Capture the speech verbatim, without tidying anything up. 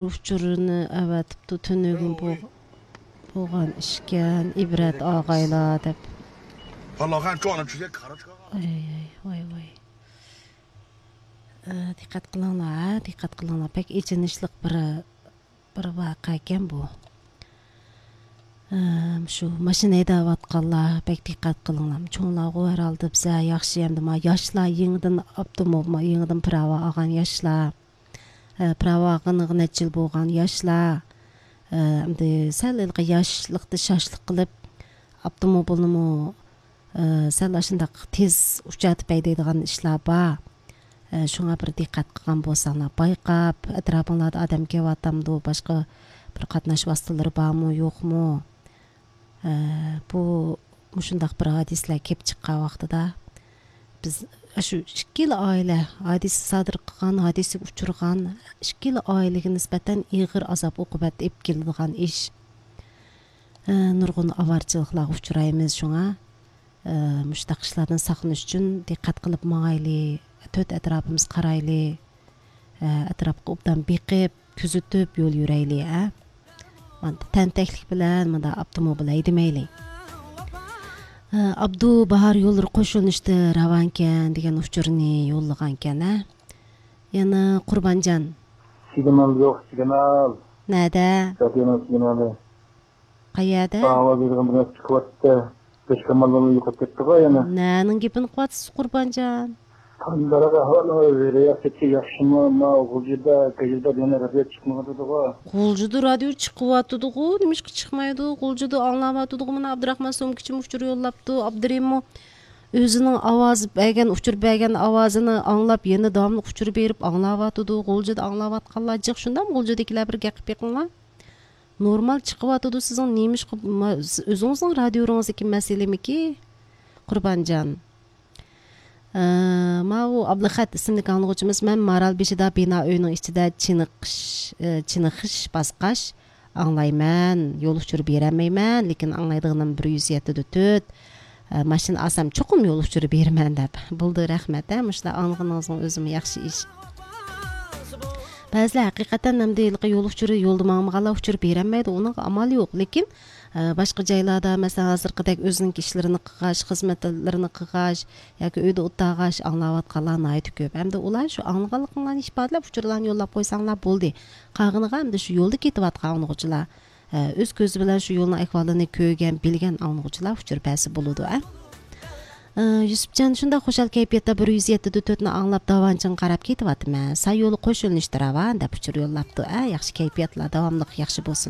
ئۇچۇرىنى ئەۋەتىپتۇ، تۈنۈگۈن بولغان ئىشكەن، ئىبرەت ئاغايلار دەپ. ۋاي، ۋاي، ۋاي، ۋاي. ئە، دىققەت قىلىڭلار، ھە، دىققەت قىلىڭلار. بەك ئېچىنىشلىق بىر، بىر ۋەقەكەن بۇ. ئە، شۇ ماشىنا ھەيدەۋاتقانلار بەك دىققەت قىلىڭلار. چوڭلارغۇ ھەر ھالدا بىزە ياخشى، ئەمدى ما ياشلار يېڭىدىن ئاپتوموبىل، ما يېڭىدىن پىراۋا ئالغان ياشلار. ئە، پىراۋا ئالغىنىغا نەچچە يىل بولغان ياشلار. ئە، ئەمدى سەل ھېلىقى ياشلىقتا شاشلىق قىلىپ، ئاپتوموبىلنىمۇ، ئە، سەل ئاشۇنداق تېز ئۇچارتىپ ھەيدەيدىغان ئىشلار بار. ئە، شۇڭا بىر دىققەت قىلغان بولساڭلار، بايقاپ، ئەتراپىڭلاردا ئادەم كېلىۋاتامدۇ، باشقا بىر قاتناش ۋاسىتىلىرى بارمۇ، يوقمۇ؟ ئە، بۇ مۇشۇنداق بىر ھادىسىلەر كېلىپ چىققان ۋاقتىدا، بىز شۇ ئىككىلا ئائىلە، ھادىسە سادىر قىلغان، ھادىسىگە ئۇچرىغان ئىككىلا ئائىلىگە نىسبەتەن ئېغىر ئازاب-ئوقۇبەت ئېلىپ كېلىدىغان ئىش. ئە، نۇرغۇن ئاۋارىچىلىقلارغا ئۇچرايمىز، شۇڭا، ئە، مۇشۇنداق ئىشلاردىن ساقلىنىش ئۈچۈن دىققەت قىلىپ ماڭايلى، تۆت ئەتراپىمىزغا قارايلى، ئە، ئەتراپقا ئوبدان بېقىپ، كۆزىتىپ يول يۈرەيلى، ھە؟ مانا تەنتەكلىك بىلەن مۇنداق ئاپتوموبىل ھەيدىمەيلى. ئە، ئابدۇ باھار يوللىرى قوشۇلۇشتا راۋانكەن دېگەن ئۇچۇرنى يوللىغانكەن، ھە؟ يەنە قۇربانجان. سىگنال يوق، سىگنال. نەدە؟ رادىيونىڭ سىگنالى. قەيەردە؟ ئاۋاز بېرىدىغان بىر نەرسە چىقىۋاتتى. بەشكاماللارمۇ يوقاپ كەتتىغۇ يەنە. نەنىڭ گېپىنى قىلىۋاتىسىز، قۇربانجان؟ قانداق ئەھۋال، رېئالىتېتى ياخشىمۇ؟ ما غۇلجىدا، گەجىدا دېگەن رادىيو چىقمىغانىدىغۇ. غۇلجىدا رادىيو چىقىۋاتىدىغۇ، نېمىشقا چىقمايدۇ؟ غۇلجىدا ئاڭلاۋاتىدىغۇ. مانا ئابدۇراخمان سومكىچىمۇ ئۇچۇر يوللاپتۇ، ئابدۇرېھىممۇ ئۆزىنىڭ ئاۋاز بەرگەن، ئۇچۇر بەرگەن ئاۋازىنى ئاڭلاپ، يەنە داۋاملىق ئۇچۇر بېرىپ ئاڭلاۋاتىدۇ. غۇلجىدا ئاڭلاۋاتقانلار جىق، شۇنداقمۇ؟ غۇلجىدىكىلەر بىر گەپ قىلىپ بېقىڭلار. نورمال چىقىۋاتىدۇ، سىزنىڭ نېمىشقا، ما-، ئۆزىڭىزنىڭ رادىيوڭىزدىكى مەسىلىمىكى، قۇربانجان؟ ئە، ماۋۇ ئابلىخەت ئىسىملىك ئاڭلىغۇچىمىز، مەن مارالبېشىدا بىنا ئۆينىڭ ئىچىدە چېنىقىش، ئە، چېنىقىش باسقاچ ئاڭلايمەن، يول ئۇچۇرى بېرەلمەيمەن، لېكىن ئاڭلايدىغىنىم بىر يۈز يەتتە دە تۆت، ئە، ماشىنا ئالسام چوقۇم يول ئۇچۇرى بېرىمەن دەپ. بولدى، رەھمەت، ھە، مۇشۇنداق ئاڭلىغىنىڭىزنىڭ ئۆزىمۇ ياخشى ئىش. بەزىلەر ھەقىقەتەن ئەمدى ھېلىقى يول ئۇچۇرى، يولدا ماڭمىغانلار ئۇچۇر بېرەلمەيدۇ، ئۇنىڭغا ئامال يوق. لېكىن، ئە، باشقا جايلاردا، مەسىلەن، ھازىرقىدەك ئۆزىنىڭكى ئىشلىرىنى قىلغاچ، خىزمەتلىرىنى قىلغاچ ياكى ئۆيدە ئولتۇرغاچ ئاڭلاۋاتقانلار ناھايىتى كۆپ. ئەمدى ئۇلار شۇ ئاڭلىغانلىقىڭلارنى ئىپادىلەپ، ئۇچۇرلارنى يوللاپ قويساڭلار بولدى. قالغىنىغا ئەمدى شۇ يولدا كېتىۋاتقان ئاڭلىغۇچىلار، ئە، ئۆز كۆزى بىلەن شۇ يولنىڭ ئەھۋالىنى كۆرگەن، بىلگەن ئاڭلىغۇچىلار ئۇچۇر بەرسە بولىدۇ، ئە. ئە، يۈسۈپجان، شۇنداق خۇشال كەيپىياتتا بىر يۈز يەتتە دە تۆتنى ئاڭلاپ، داۋانچىڭغا قاراپ كېتىۋاتىمەن. ساي يولى قوشۇلۇنۇشتا راۋان دەپ ئۇچۇر يوللاپتۇ. ئە، ياخشى كەيپىياتلار داۋاملىق ياخشى بولسۇن.